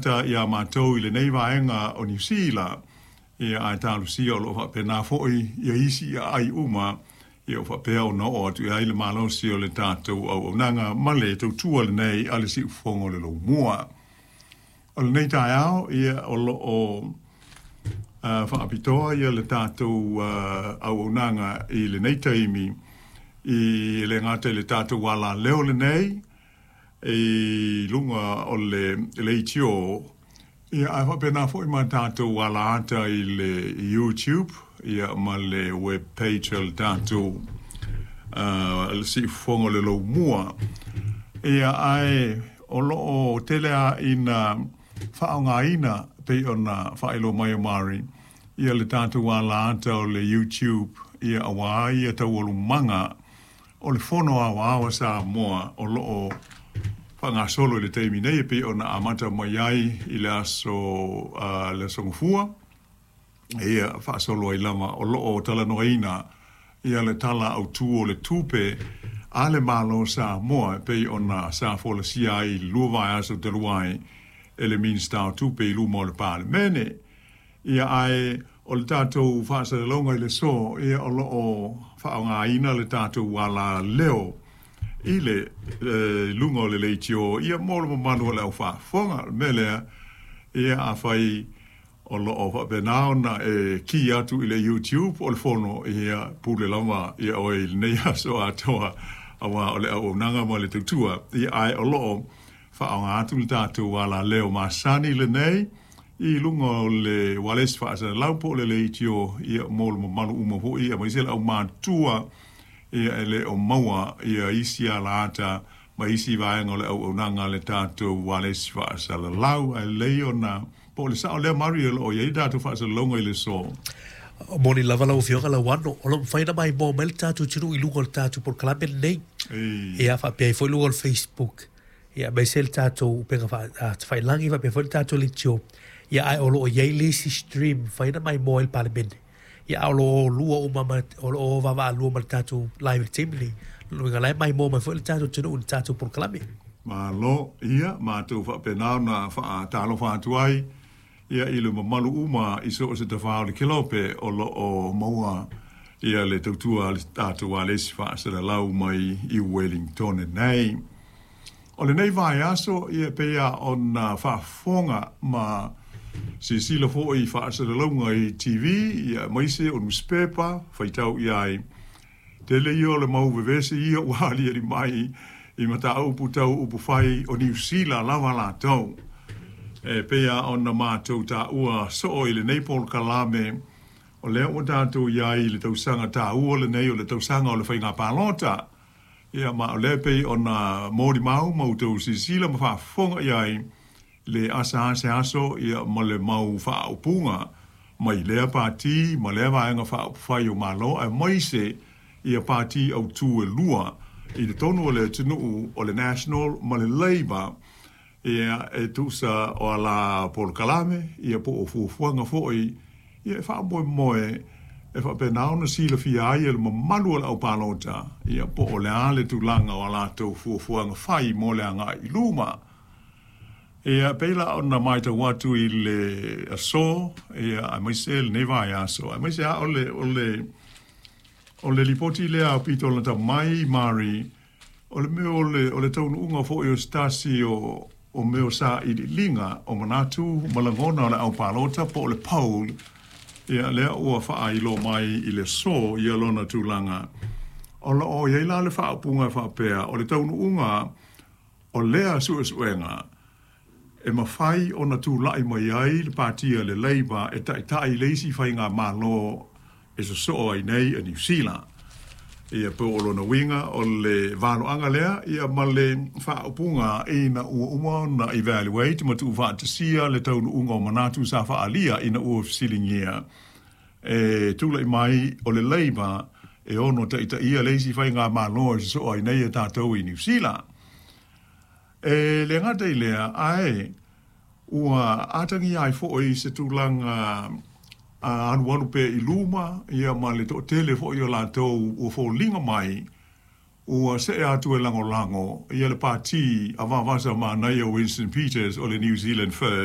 gata iā matou i lenei vaega o Niu Sila, ia ae talosia o lo o faapena foi ia isi aai uma, ia o faapea ona oo atu i ai le malosi o le tatou auaunaga ma le tautua lenei a le Siufofoga o le Lomua. O lenei taeao, ia o lo o faapitoa ia le tatou auaunaga i lenei taimi i le gata i le tatou alaleo lenei i luga o le leitio, ia ae faapena foi ma tatou alaata i le YouTube ia ma le web page o le tatou Siufofoga o le Lomua. Ia ae o lo o tele lava ina faaaogaina pei ona faailoa mai e Mari ia le tatou alaata o le YouTube ia aua ia taualumaga o le Fono Aoao a Samoa o lo o faagasolo i le taimi nei e pei ona amata mai ai i le aso le aso Gafua ia faasolo ai lava o lo o talanoaina ia le Tala Autu o le Tupe a le Malo o Samoa e pei ona sa folasia ai i le 2 vaiaso talu ai e le Minisita o Tupe i luma o le Palemene. Ia ae o le tatou faasalalauga i le aso, ia o lo o faaaogaina le tatou alaleo i le luga o le leitio ia mo le mamalu o le au faafofoga. O le mea lea, ia afai o lo o faapena ona e ki atu i le YouTube o le fono, ia pule lava ia oe i lenei aso atoa, aua o le auaunaga ma le tautua, ia ae o lo o faaaoga atu le tatou alaleo masani lenei i luga o le ualesi faasalalau po o le leitio, ia mo le mamalu uma foi, aemaise le aumatutua, ia e le o maua ia isi alaata ma isi vaega o le auaunaga a le tatou ualesi faasalalau. Ae lelei ona po o le sao lea Mari o lo o i ai le tatou faasalalauga i le aso. Moni lava lau Afioga Lauano, o lo o mafai ona maimoa mai le tatou atunuu i luga o le tatou polokalame lenei. Ia faapea ai foi luga o le Facebook, ia aemaise le tatou upega faatafailangi faapea foi le tatou leitio. Ia ae o lo o i ai le isi stream mafai ona maimoa ai le Palemene. Ia a o lo o lua uma ma o lo o vaavaalua ma le tatou live i le taimi lenei. Lona uiga la e maimoa mai foi le tatou atunuu i le tatou polokalame. Malo, ia matou faapena ona faatalofa atu ai ia i le mamalu uma i so o se tafā o le kelope o lo o maua ia le tautua a le tatou alesi faasalalau mai i Wellingtone nei. O lenei vaiaso, ia e pei lava ona faafofoga ma silasila foi i faasalalauga i TV, ia aemaise o nusipepa, faitau i ai. Tele ia o le mau vevesi ia ua aliali mai i mataupu tau upufai o Niu Sila lava latou. E pei lava ona matou taua soo i lenei polokalame, o lea ua tatou i ai i le tausaga taua lenei o le tausaga o le faiga palota. Ia, ma o lea e pei ona molimau ma outou silasila ma faafofoga i ai le asa a se aso, ia, ma le mau faaupuga mai lea pati ma lea vaega faaupufai o Malo, aemaise ia pati autū e lua i totonu o le atunuu, o le National ma le Labour, Ia, e tusa o ala polokalame, ia po o fuafuaga foi, ia e faamoemoe e faapena ona silafia ai e le mamalu o le aupalota, ia po o le a le tulaga o a latou fuafuaga fai mo le agai i luma. Ia, pei la ona matau atu i le aso, ia, aemaise lenei vaiaso, aemaise lava o le, o le, o le lipoti lea aupito lata mai, Mari, O le mea o le, o le taunuuga foi o se tasi o, o mea o sailiiliga o manatu ma lagona o le aupalota po o le poll, ia lea ua faailoa mai i le aso ia lona tulaga. O lo o i ai la le faaupuga e faapea, o le taunuuga o lea suesuega, e mafai ona tulai mai ai le Pati a le Labour e taitai le isi faigamalo e sosoo ai nei a Niu Sila. Ia po o lona uiga o le valoaga lea ia ma le faaupuga ina ua uma ona evaluate ma tuufaatasia le taunuuga o manatu sa faaalia ina ua fesiligia e tulai mai o le Labour e ono taitaia le isi faigamalo e sosoo ai nei a tatou i Niu Sila. E le gata i lea, ae ua atagia ai foi se tulaga alualu pea i luma, ia ma le toatele foi o latou ua foliga mai ua see atu e lagolago ia le Pati a Vavasa Manaia Winston Peters o le New Zealand First.